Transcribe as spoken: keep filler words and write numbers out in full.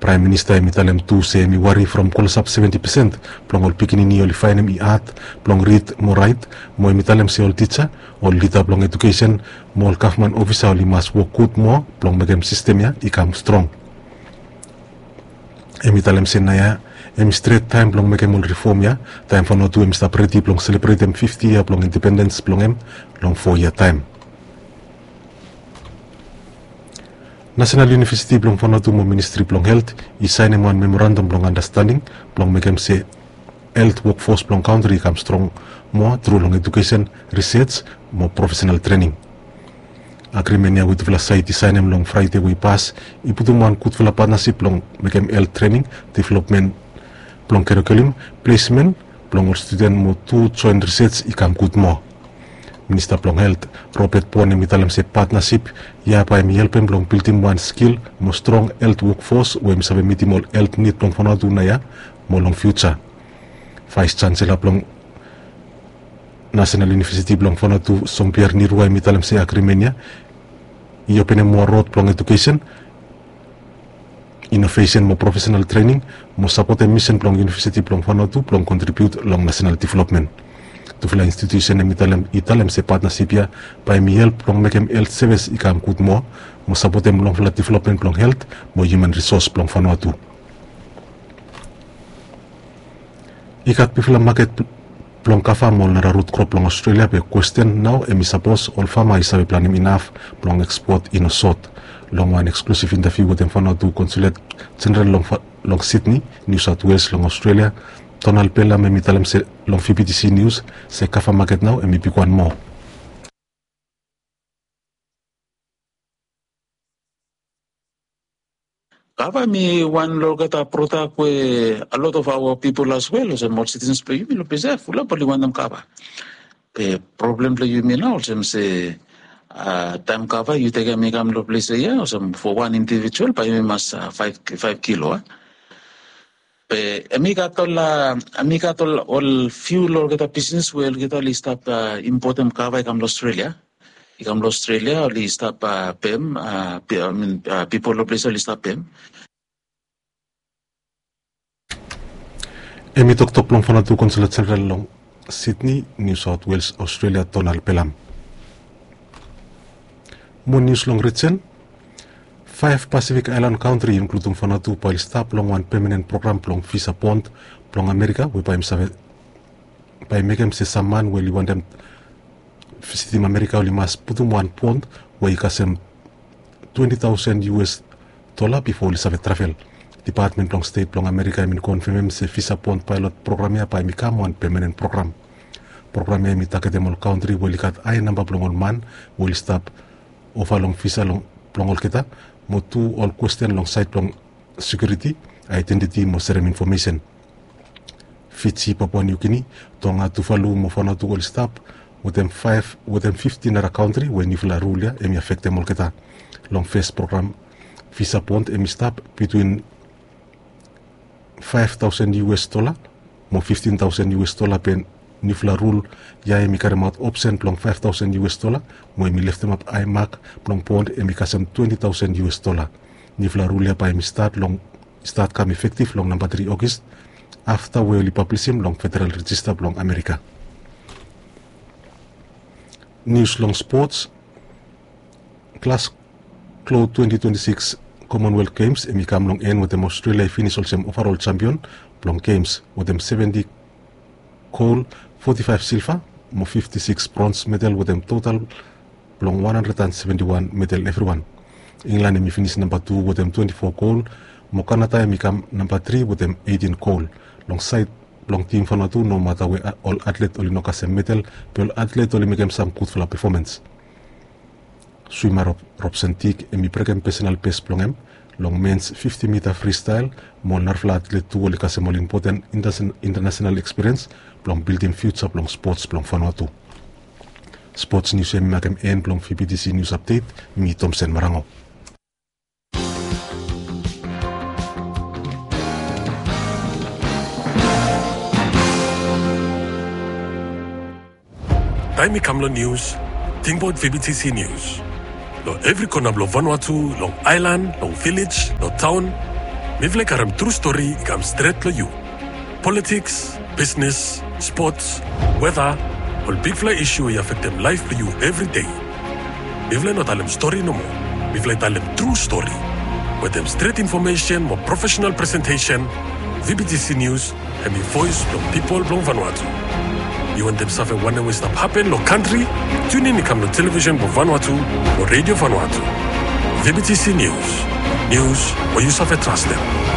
Praem Minista hemi talem tu se hemi wari from klosap seventi pesen blong ol pikinini oli faenem i had blong rid mo raet, mo hemi talem se ol tija, ol lida blong ejukesen mo ol gavman ofisa oli mas wok gud moa blong mekem sistem ya i kam strong. Hemi talem se naoia hemi stret taem blong mekem ol rifom ya, taem Vanuatu hemi stap redi blong selebretem fifti yia blong independens blong hem long fo yia taem. Nasenal Univesiti blong Vanuatu mo Ministri blong Helt i saenem wan memorandam blong andastanding blong mekem se helt wokfos blong kantri i kam strong moa tru long ejukesen, risej mo profesenal trening. Agrimen ya we tufala saed i saenem long Fraede we i pas i putum wan gudfala patnasip blong mekem helt trening, developmen blong karikulum, plesmen blong ol studen mo tu joen risej i kam gud moa. Minista blong Helt, Robert Pon, hemi talem se patnasip ya bae hemi helpem blong bildim wan skil mo strong helt wokfos we hemi save mitim ol helt nid blong Vanuatu naoia mo long fiuja. Vaes Jansela blong Nasenal Univesiti blong Vanuatu, Jean-Pierre Nirua, hemi talem se agrimen ya i openem moa rod blong ejukesen, inovesen mo profesenal trening mo sapotem misen blong Univesiti blong Vanuatu blong kontribiut long nasenal developmen. Tufala institusen hemi talem, i talem se patnasip ya bae hemi help blong mekem helt sevis i kam gud moa mo sapotem longfala developmen blong helt mo hiuman risos blong Vanuatu. I gat bigfala maket blong kava mo ol nara rut krop blong Australia, be kwesten nao hemi sapos ol fama i save planem inaf blong ekspot i no sot. Long wan eksklusif intaviu wetem Vanuatu Konsulet Jeneral long Sydney, New South Wales long Australia, Donald Pelham, hemi talem se long VBTC News se kava maket nao hemi bigwan moa. Kava hemi wan long olgeta prodak we a lot of our people as well, olsem ol citizens blong yumi long ples ya, fulap oli wantem kava. Be problem blong yumi nao olsem se, a, taem kava yu tekem i kam long ples ya, olsem fo wan indivijual bae yumi mas, a, faef, faef kilo, a. Be hemi gat ol, a, hemi gat ol, ol fiu long olgeta bisnes we olgeta oli stap, a, impotem kava i kam long Australia. I kam long Australia, oli stap, a, pem, a, pipol long ples oli stap pem. Hemi toktok blong Vanuatu Konsulet Jeneral long Sydney, New South Wales, Australia, Donald Pelham. Mo nius long rijen. Faef Pasifik aelan kantri, inkludim Vanuatu, bae oli stap long wan pemanen program blong visa bond blong Amerika, we bae hemi save, bae mekem se sam man we oli wantem visitim Amerika oli mas putum wan bond we i kasem twenti taosen US dola bifo oli save travel. Depatmen blong Stet blong Amerika hemi konfemem se visa bond paelot program ya bae hemi kam wan pemanen program. Program ya hemi tagetem ol kantri we oli gat hae namba blong ol man we oli stap ova long visa blong olgeta, mo tu ol kwesten long saed blong sekiuriti, aedentiti mo serem infomesen. Fiji, Papua New Guinea, Tonga, Tuvalu mo Vanuatu oli stap wetem faef, wetem fifti nara kantri we niufala rul ya hemi afektem olgeta. Long fes program, visa bond hemi stap bitwin faef taosen US dola mo fiftin taosen US dola, be niufala rul ya hemi karemaot opsen blong faef taosen US dola, mo hemi leftemap hae mak blong bond hemi kasem twenti taosen US dola. Niufala rul ya bae hemi stat long, stat kam efektif long namba tri Ogis, afta we oli pablisim long Federal Rejista blong Amerika. Nius long spots. Glasgow twenti twenti sikis Commonwealth Games hemi kam long en wetem Australia i finis olsem ovarol jampion blong Games wetem seventi gol, foti faef silva mo fifti sikis brons medal wetem total blong wan handred an seventi wan medal evriwan. Inglan hemi finis namba tu wetem twenti fo gol, mo Kanada hemi kam namba tri wetem eitin gol. Long saed blong tim Vanuatu, nomata we ol atlet oli no kasem medal, be ol atlet oli mekem sam gudfala pefomans. Swima Rob, Robson Tick hemi brekem pesenal bes blong hem long mens fifti mita fristael, mo ol narafala atlet tu oli kasem ol impoten intasen-, intanasenal ekspiriens blong bildim fiuja blong spots blong Vanuatu. Spots nius ya hemi makem en blong VBTC Nius Apdet, mi Tomsen Marango. Taem i kam long nius, tingbaot VBTC Nius. Long evri kona blong Vanuatu, long aelan, long vilej, long taon, Mifala i karem tru stori i kam stret long yu. Politiks, bisnes, spots, weta, ol bigfala isu we i afektem laef blong yu evri dei. Mifala i no talem stori nomo. Mifala i talem tru stori. Wetem stret infomesen mo profesenal presentesen, V B T C News hemi voes blong pipol blong Vanuatu. Yu wantem save wanem we i stap hapen long kantri? Tunin i kam long televisen blong Vanuatu mo redio Vanuatu. V B T C News. Nius we yu save trastem.